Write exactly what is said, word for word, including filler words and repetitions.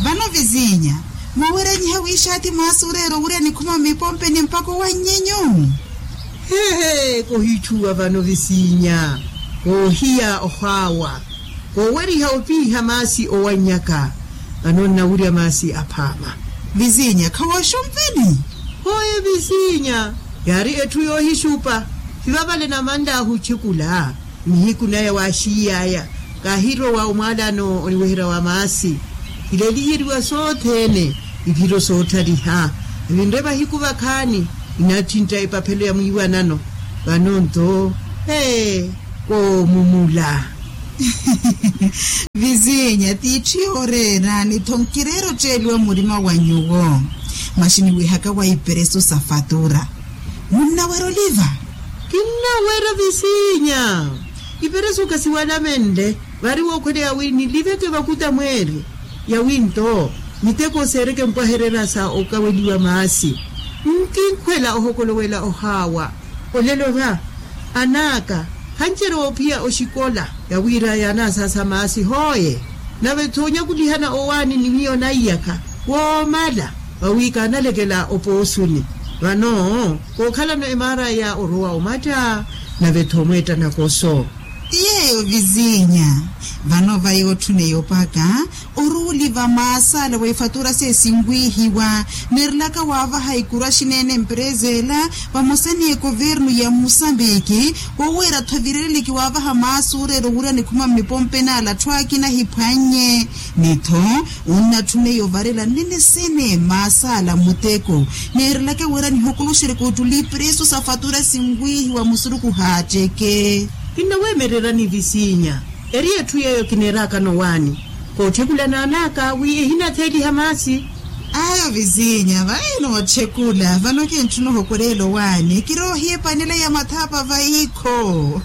Vano visinya, muwerenyiha wiixaati mwaasi oreera owurya nikhuma mmipompeni mpakha owannyenyu. Hehe, kohitthuwa vano visinya, koohiya ohaawa, kooweriha opiiha maasi owannyaka. Vano nnawurya maasi aphaama. Visinya khawooxumveni. Hooye visinya, yaari etthu yoohixupa. Hivavale namanlaahu otthekula. Nihiku naya waaxiiy'aya, kaahirowa omwaalano oniweherya wa maasi. Kileeliyeriwa sothene, iphiro soottaliha. Evinre vahiku vakhaani, inattintta epaphelo ya mwiiwanano. Vano nto, ee, koomumula. Visinya tiitthu yooreera ni tho nkireera otteeliwa murima wa nyuwo. Maxini wihaka wa iperesu sa fatura, munnawerya oliva? Kinnawerya visinya. Iperesu khasiwalamenle, vari wookhweleya wi niliveke vakuta mweeri. Yawi nto, miteko seereke mpwahererya sa okaweliwa maasi. Nkinkhwela ohokolowela ohaawa. Olelo va, an'aka, khancerewa ophiya oxikola, yawira yaanasaasa maasi hooye. Nave-tho onyakulihana owaani ni miyo naiyakha, woomala, vawi kaanalekela opoosuni. Vano, kookhalano emaaraya orowa omatta, nave-tho omweetta nakoso. Ti yeeyo visinya. Vano vayi otthuneya opaka, oruuli va maasi ala wa ifatura seesinwihiwa, neerelaka waavaha ikuru axineene empereza ela, vamosa ni ekovernu ya musambiki, woweera-tho evireleliki waavaha maasi oreera owurya nikhuma mmipompeni ala atthu akina ahiphwannye. Ni-tho, onnatthuneya ovarela nene sene maasi ala muteko, neerelaka wira nihokoloxereke ottuli iperesu sa fatura sinwihiwa musuruku haatteke. Kinnaweemererani visinya, eri etthu yeeyo kineeraakano owaani, kootthekulana an'aka wi ehinatheeliha maasi. Ayo visinya vayi nootthekula vano kintthuna ohokoreela owaani kiroohiya epanela ya mathapa vayikho.